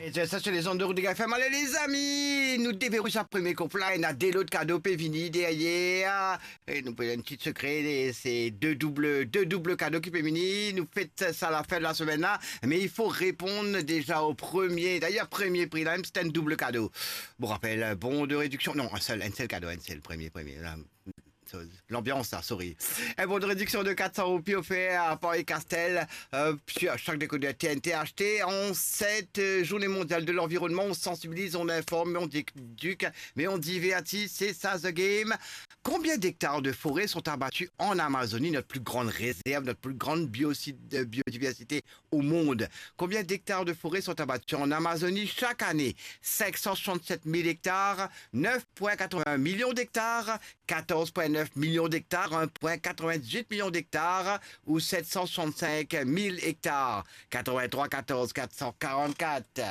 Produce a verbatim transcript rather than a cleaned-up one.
Et ça, c'est les ondes de Rodrigue F M. Allez, les amis, nou deverouy sa premie koup la, ena de lot kado pe vini deryer. E nou pe donn enn ti sekre, se de doub, de doub kado ki pe vini. Nou fet sa lafin de lasemenn la, me il faut répondre déjà au premier. D'ailleurs, premie pri la, se enn doub kado. Bon, rapel, bon de rediksion. Non, enn sel, enn sel kado, enn sel, premie, premie. La, lanbians la, sorry. Enn bon de rediksion de kat san roupi ofer par Paris Castel, euh, sur chaque décodeur T N T acheté en cette, euh, journée mondiale de l'environnement. On sensibilise, on informe, on éduque, mais on divertit. C'est ça, The Game. Combien d'hectares de forêts sont abattus en Amazonie, notre plus grande réserve, notre plus grande biosi-, euh, biodiversité au monde? Combien d'hectares de forêts sont abattus en Amazonie chaque année? Cinq cent soixante-sept mille hectares, neuf point quatre-vingts millions d'hectares, quatorze point neuf millions d'hectares, un point quatre-vingt-dix-huit millions d'hectares ou sept cent soixante-cinq mille hectares. Quatre-vingt-trois quatorze quatre cent quarante-quatre.